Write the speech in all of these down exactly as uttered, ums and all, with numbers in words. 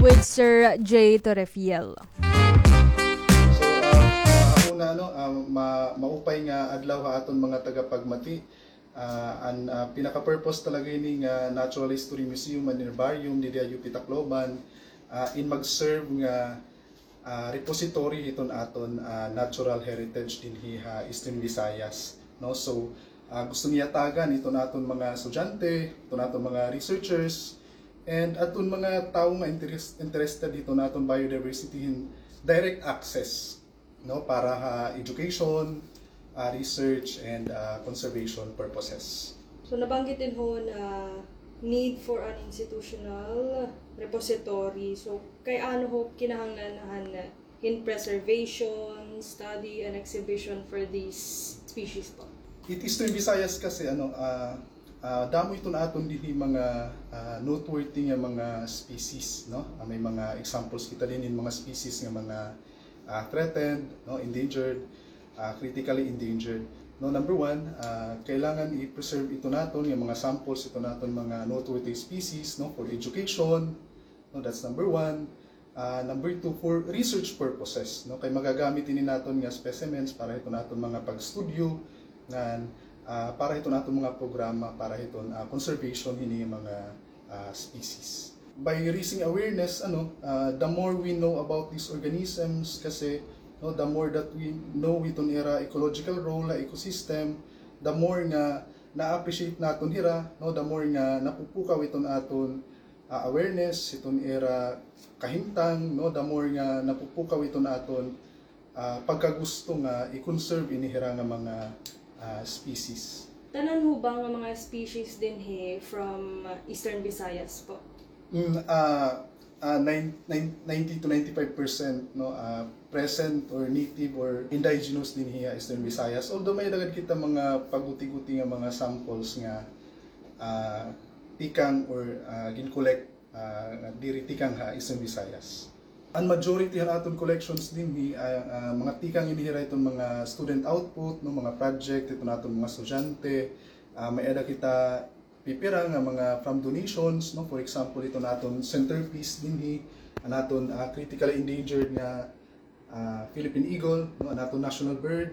with Sir Jay Torrefiel. So, ah, ah, ako na, ano, ah, ma-, maupay nga adlaw ha aton mga tagapagmati. Ah, an, ah, pinaka-purpose talaga ini nga Natural History Museum and Herbarium didi ha U P Tacloban, ah, in mag-serve nga, ah, repository hiton aton, ah, natural heritage dinhi ha Eastern Visayas, no? So, ah, gusto niya tagan iton aton mga estudyante, iton aton mga researchers, and aton mga tawo nga interes-, interested hiton aton biodiversity hin direct access, no, para ha education, ah, research, and, ah, conservation purposes. So, nabanggit din ho na need for an institutional repository. So, kay ano ho kinahanglan han hin preservation, study, and exhibition for these species po? It is to Visayas kasi, ano, ah, ah, damo iton aton dinhi mga, ah, noteworthy nga mga species, no? Ah, may mga examples kita dinhi hin mga species nga mga ah, threatened, no, endangered, ah, critically endangered. No, number one, ah, kailangan i-preserve iton aton nga mga samples, iton aton mga noteworthy species, no, for education. No, that's number one. Ah, number two, for research purposes, no, kay magagamit ini naton nga specimens para hiton aton mga pag-studio, ngan, ah, para hiton aton mga programa, para hiton, ah, conservation hini nga mga ah, species. By raising awareness, ano, ah, the more we know about these organisms, kasi, no, the more that we know iton ira ecological role ha ecosystem, the more nga na-appreciate naton hira, no, the more nga napupukaw iton aton, ah, awareness, iton ira kahimtang, no, the more nga napupukaw iton aton ah, pagkagusto nga i-conserve ini hira nga mga, ah, species. Tanan ho ba nga mga species dinhi from, ah, Eastern Visayas po? Mm, ah, ah, nine-, nine-, ninety to ninety-five percent, no, ah, present or native or indigenous dinhi ha Eastern Visayas. Although may-ada gad kita mga paguti-guti nga mga samples nga, ah, tikang or, ah, gin-collect ah, nga diri tikang ha Eastern Visayas. An majority han aton collections dinhi, ah, ah, mga tikang ini hira iton mga student output, no, mga project iton aton mga estudyante. Ah, may-ada kita pipira nga mga from donations, no, for example, iton aton centerpiece dinhi, an aton, ah, critically endangered nga ah, Philippine Eagle, no, an aton national bird,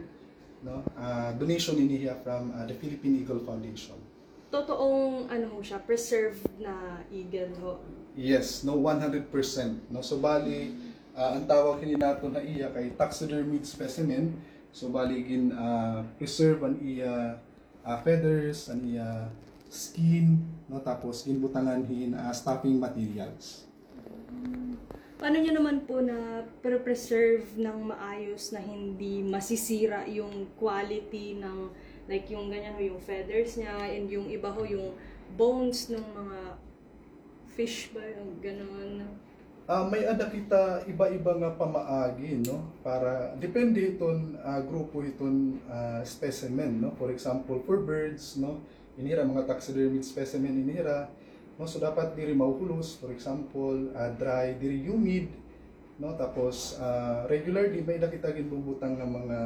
no, ah, donation ini hiya from, ah, the Philippine Eagle Foundation. Totoong, ano ho siya, preserved na eagle ho? Yes, no, one hundred percent, no. So, bali, ah, an tawag hini naton ha iya kay taxidermied specimen. So, bali, gin, ah, preserve an iya ah, feathers, an iya skin, no, tapos ginbutangan hin, ah, stuffing materials. Paano niyo naman po na pre-preserve ng maayos na hindi masisira yung quality ng, like, yung ganyan ho, yung feathers niya, and yung iba ho, yung bones ng mga fish ba, yung ganon? Ah, may-ada kita iba-iba nga pamaagi, no? Para, depende hiton, ah, grupo hiton, ah, specimen, no? For example, for birds, no? Ini hira mga taxidermied specimen ini hira, no? So, dapat diri mahuhulos, for example, ah, dry, diri humid, no? Tapos, ah, regularly, may-ada kita ginbubutang nga mga,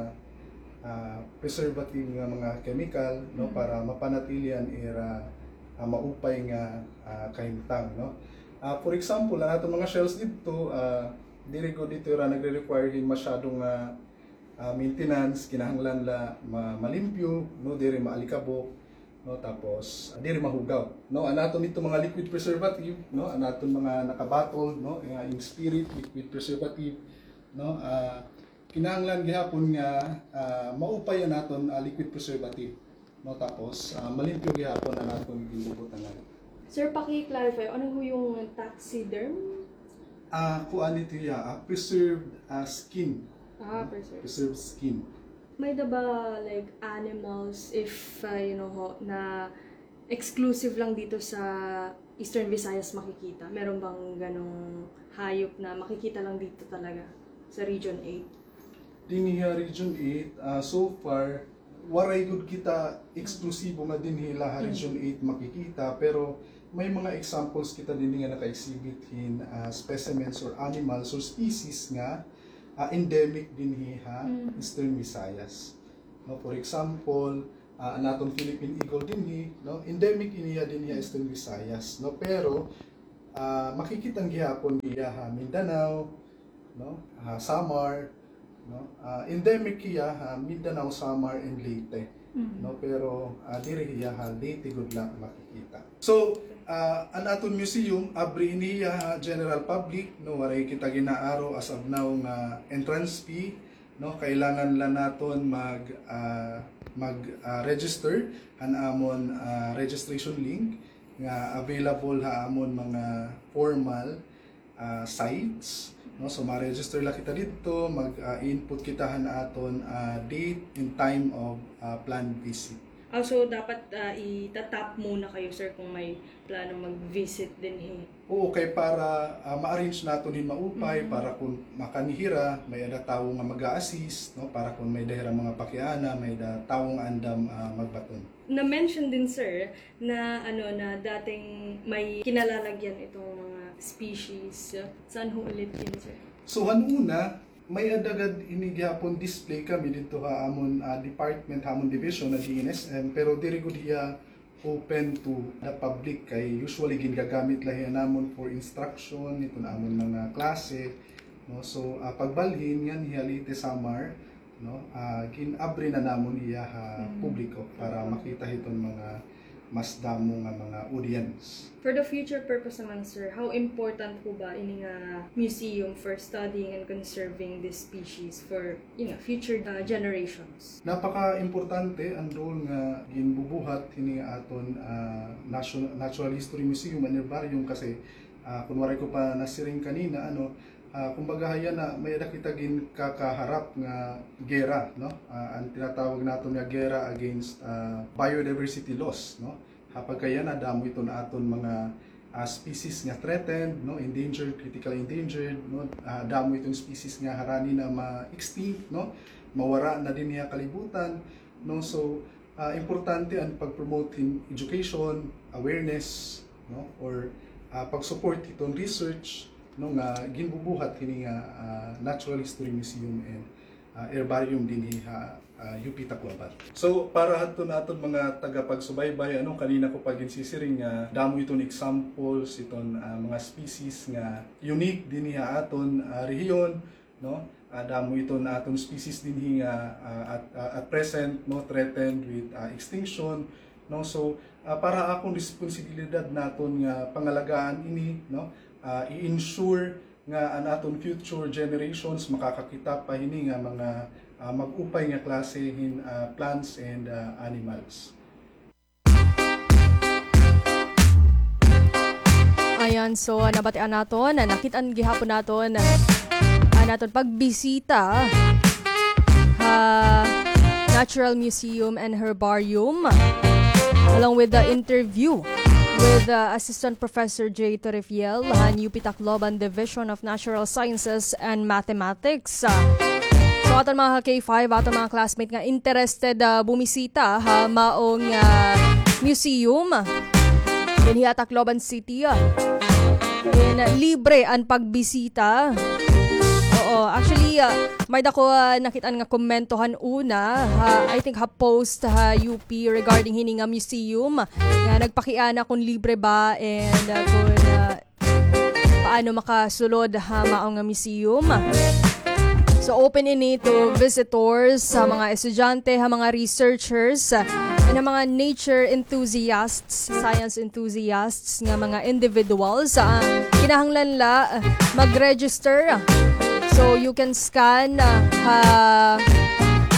ah, preservative nga mga chemical, no? Mm. Para mapanatili an ira, ah, maupay nga, ah, kahimtang, no? Ah, for example, an aton mga shells didto, ah, diri gud ito ira nagre-require hin masyado nga, ah, maintenance, kinahanglan la ma-, malimpyo, no, diri maalikabok, no, tapos, ah, diri mahugaw, no. An aton didto mga liquid preservative, no, an aton mga naka-bottle, no, nga in spirit, liquid preservative, no, ah, kinahanglan gihapon nga, ah, maupay an aton, ah, liquid preservative. No, tapos, ah, malimpyo gihapon an aton ginbubutangan. Sir, paki-clarify, ano ho yung taxiderm? Ah, kuan ito hiya, ah, preserved, ah, skin. Ah, no? Preserved. Preserved skin. May-ada ba, like, animals, if, ah, you know ho, na exclusive lang dito sa Eastern Visayas makikita? Meron bang ganong hayop na makikita lang dito talaga sa Region eight? Dinhi ha Region eight, ah, so far, waray gud kita eksklusibo nga dinhi la ha Region eight makikita, pero may mga examples kita dinhi nga naka-exhibit hin, ah, specimens or animals or species nga, ah, endemic dinhi ha Eastern Visayas. No, for example, ah, an aton Philippine Eagle dinhi, no, endemic ini hiya dinhi ha Eastern Visayas, no, pero Ah, makikita gihapon hiya ha Mindanao, no? Ha Samar, no? Ah, endemic hiya ha Mindanao, Samar, and Leyte, no? Pero, ah, diri hiya ha Leyte gud la makikita. So, ah, an aton museum, abri ini hiya ha general public, no? Waray kita gin-aaro as of now nga entrance fee, no? Kailangan la naton mag, ah, mag, ah, register han amon, ah, registration link nga available ha amon mga formal, ah, sites, no? So, ma-register la kita didto, mag, ah, input kita han aton, ah, date and time of, ah, planned visit. Ah, so dapat, ah, itatap muna kayo, sir, kung may plano mag-visit dinhi. Oo, kay para, ah, ma-arrange naton hin maupay, para kun makanhi hira, may-ada tawo nga mag-a-assist, no? Para kun may-ada hira mga pakiana, may-ada tawo nga andam, ah, magbaton. Na-mention din, sir, na, ano, na dating may kinalalagyan itong mga species. Saan ho ulit yun, sir? So, han una, may-ada gad ini gihapon display kami didto ha amon, ah, department, ha amon division, ha D N S M, pero diri gud hiya open to the public, kay usually gingagamit la hiya namon for instruction hiton amon mga klase, no? So, ah, pagbalhin nganhi ha Leyte, Samar, no? Ah, gin-abri na namon hiya ha publiko para makita hiton mga mas damo nga mga audience. For the future purpose naman, sir, how important po ba ini nga museum for studying and conserving this species for, you know, future, uh, generations? Napaka-importante an role nga ginbubuhat hini nga aton, ah, nation-, Natural History Museum and Herbarium kasi, ah, kun waray ko pa nasiring kanina, ano, Ah, kumbaga, hayan na, may-ada kita ginkakaharap nga gera, no? Ah, an tinatawag naton nga gera against, ah, biodiversity loss, no? Ha pagkayana, damo iton aton mga, ah, species nga threatened, no? Endangered, critical endangered, no? Ah, damo iton species nga harani na ma-extinct, no? Mawara na dinhi ha kalibutan, no? So, ah, importante an pag-promote hin education, awareness, no? Or, ah, pag-support hiton research, no, nga ginbubuhat hini nga, ah, Natural History Museum and, ah, Herbarium dinhi ha, ah, U P Tacloban. So, para hadton aton mga tagapagsubaybay, ano, kanina ko pa ginsisiring nga damo iton examples, iton, ah, mga species nga unique dinhi ha aton, ah, rehiyon, no? Ah, damo iton aton species dinhi nga, ah, at, ah, at present, no, threatened with, ah, extinction, no? So, ah, para akon responsibilidad naton nga pangalagaan ini, no? Ah, i-ensure nga an aton future generations makakakita pa hini nga mga, ah, mag-upay nga klase hin, ah, plants and, ah, animals. Ayan, so, nabatian naton, nakit-an gihapon naton an aton pagbisita ha Natural Museum and Herbarium, along with the interview with, uh, Assistant Professor Jay Torrefiel han U P Tacloban Division of Natural Sciences and Mathematics. So, aton mga ka-K five, aton mga classmate nga interested, ah, bumisita ha maong, ah, museum dinhi ha Tacloban City, ah. And, ah, libre an pagbisita. Oo, actually, ah, may-ada ko, ah, nakit-an nga komento han una, ha, I think ha post ha U P regarding hini nga museum, nga nagpakiana kon libre ba and, ah, kon, ah, paano makasulod ha maong nga museum. So, open ini to visitors, ha mga estudyante, ha mga researchers, and ha mga nature enthusiasts, science enthusiasts nga mga individuals. Ah, kinahanglan la, ah, mag-register. So, you can scan, ah, ha,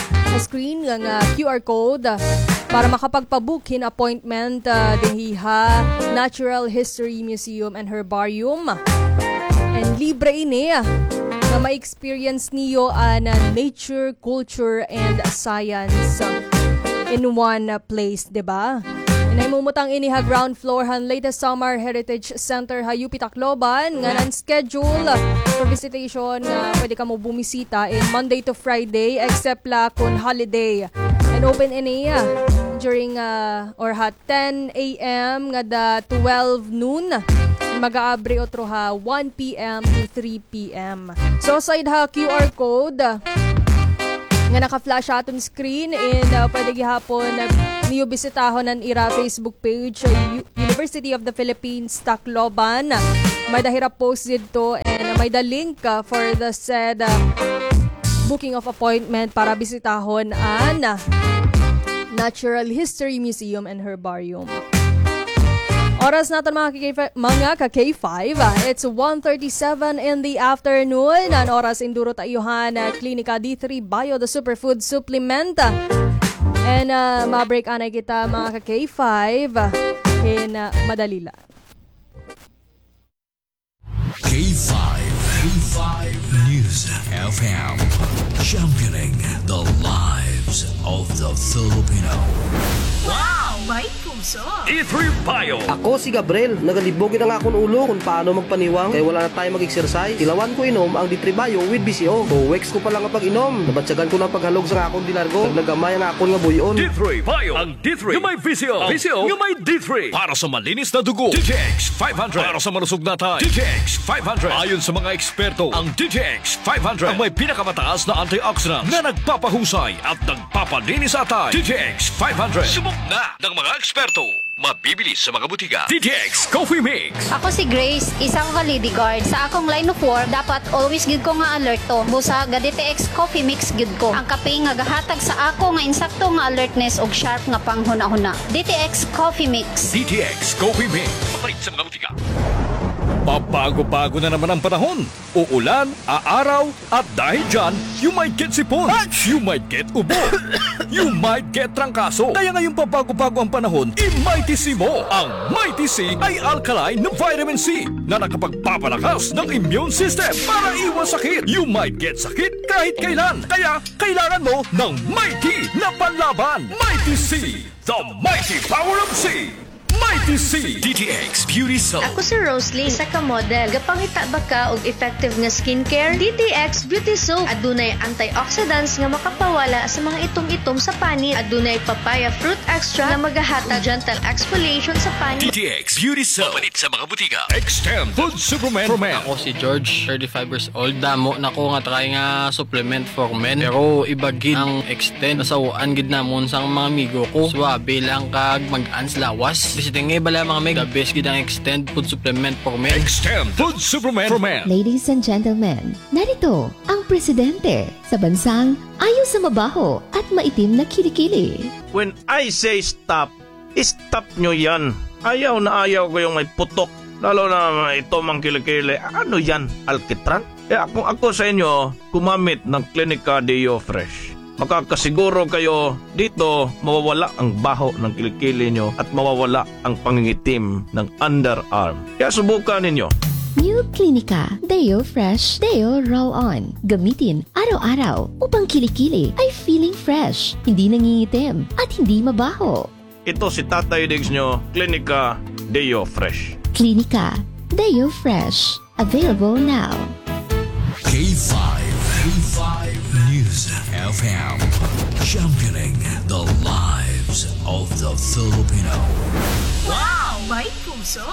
ha screen nga, nga Q R code, ah, para makapagpa-book hin appointment, ah, dinhi ha Natural History Museum and Herbarium. And libre ini, ah, nga ma-experience niyo an, ah, nature, culture, and science, ah, in one, ah, place, di ba? Nahimumutang ini ha ground floor han Leyte Samar Heritage Center ha U P Tacloban, nga nan-schedule for visitation, nga pwede kamo bumisita in Monday to Friday, except la kon holiday. And open ini, ah, during, ah, or ha ten A M ngada twelve noon. Mag-aabri utro ha one P M to three P M. So, aside ha Q R code, ah, nga naka-flash ha aton screen, and, ah, pwede gihapon, ah, niyo bisitahon an ira Facebook page, ah, U-, University of the Philippines, Tacloban. May-ada hira post didto and may-ada link, ah, for the said, ah, booking of appointment para bisitahon an Natural History Museum and Herbarium. Oras naton, mga ka-K five, mga ka-K five, ah, it's one thirty-seven in the afternoon. An oras, induro ta iyo han, ah, Klinika D three Bio, the superfood supplement. And, ah, ma-break anay kita, mga ka-K five, ah, in, ah, madali la. K five, K five News F M, championing the lives of the Filipino. Wow! May puso! D three Bio. Ako si Gabriel. Nagalibog gid an akon ulo kon paano magpaniwang kay wala na tayo mag-exercise. Tilawan ko inom ang D three Bio with V C O. Two weeks ko pa la nga pag-inom, nabatyagan ko na an paghalog sa akon dilargo. Naglagamay an akon nga buy-on. D three Bio. Ang D three nga may V C O. V C O nga may D three. Para sa malinis na dugo, D T X five hundred. Para sa malusog na atay, D T X five hundred. Ayon sa mga eksperto, ang D T X five hundred ang may pinakamataas na antioxidant na nagpapahusay at nagpapalinis sa atay. D T X five hundred. Subok na ng mga eksperto. Mabibili sa mga butika. D T X Coffee Mix. Ako si Grace, isang Validi guard. Sa akong line of work, dapat always gyud ko nga alerto. Busa, ga-D T X Coffee Mix gyud ko. Ang kape nga gahatag sa ako nga insakto nga alertness ug sharp nga panghunahuna. D T X Coffee Mix. D T X Coffee Mix. Mabait sa mga butika. Pabago-bago na naman ang panahon. Uulan, aaraw, at dahil dyan, you might get sipon, you might get ubo, you might get trangkaso. Kaya ngayong pabago-bago ang panahon, i-Mighty C mo. Ang Mighty C ay alkaline na vitamin C na nakapagpapalakas ng immune system para iwas sakit. You might get sakit kahit kailan. Kaya kailangan mo ng Mighty na panlaban. Mighty C, the mighty power of C. Mighty C. D T X Beauty Soap. Ako si Roslyn, isa ka model. Gapangita ba ka og effective nga skincare? D T X Beauty Soap. Adunay antioxidants nga makapawala sa mga itom-itom sa panit. Adunay papaya fruit extract nga magahatag gentle exfoliation sa panit. D T X Beauty Soap. Mapalit sa mga butika. Extend Food Supplement for Men. Ako si George, thirty-five years old. Damo na ko nga try nga supplement for men. Pero iba gid ang Extend. Nasaw-an gid namon sang mga amigo ko. Suabe lang kag mag-an sa lawas. Bisiting nga iba la, mga mig, the best gid ang Extend Food Supplement for Men. Extend Food Supplement for Men. Ladies and gentlemen, narito ang presidente sa bansang ayaw sa mabaho at maitim na kilikili. When I say stop, stop nyo yan. Ayaw na ayaw ko yung may putok. Lalo na may itom ang kilikili. Ano yan? Alkitran? Kaya kung ako sa inyo, gumamit ng Clinica Deo Fresh. Makakasiguro kayo dito mawawala ang baho ng kilikili nyo at mawawala ang pangingitim ng underarm. Kaya subukan ninyo. New Clinica Deo Fresh Deo Roll-On. Gamitin araw-araw upang kilikili ay feeling fresh, hindi nangingitim, at hindi mabaho. Ito si Tatay Diggs nyo, Clinica Deo Fresh. Clinica Deo Fresh. Available now. K five, K five News F M. Championing the lives of the Filipino. Wow! May puso!